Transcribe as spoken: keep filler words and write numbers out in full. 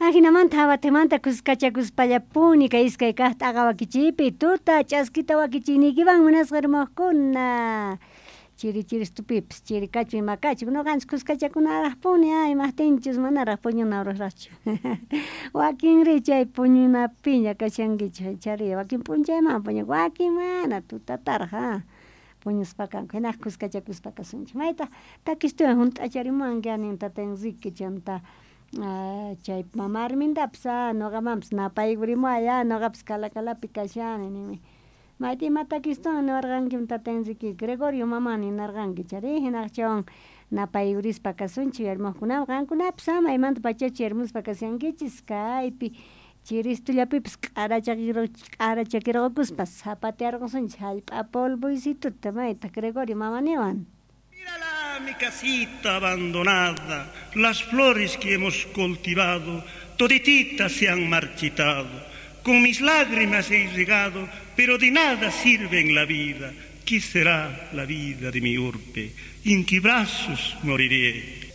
Ajinamanta abatemanta kuskachakuspallapuni kay iskay kaq t'aqa wakichiypi tuta ch'askita wakichiyniykiwan munasqa hermokuna chiri chiristupipis chiri kachu ima kachu noqanchis kuskachakunaraqpuni a imaqtinchus manaraq puñuna horasraqchu wakinri chay puñunapiña kashankichis chari wakin p'unchayman puñunku wakin mana tutataraq a puñuspa kanku hinaq kuskachakuspa kasunchik maytaq takistuwan hunt'acharimuwanki anin tata Enrique chanta chay mama Armindapis a noqamanpis napaykurimuway a noqapis Calacalapi kashani ninmi mayta ima takistuwan niwarqanki tata Enrique Gregorio mamá ninarqanki chari hinaq chaywan napaykurispa kasunchik uyarimuqkunawan qankunapis a maymanta pachachu uyarimuspa kashankichis kaypi chiristullapipis q'arachakirqokuspa zapatearqosunchik hallp'a polvoysituta mayta Gregorio mamá niwan. Mírala mi casita abandonada, las flores que hemos cultivado, todititas se han marchitado. Con mis lágrimas he regado, pero de nada sirve en la vida. ¿Qué será la vida de mi urbe? ¿En qué brazos moriré?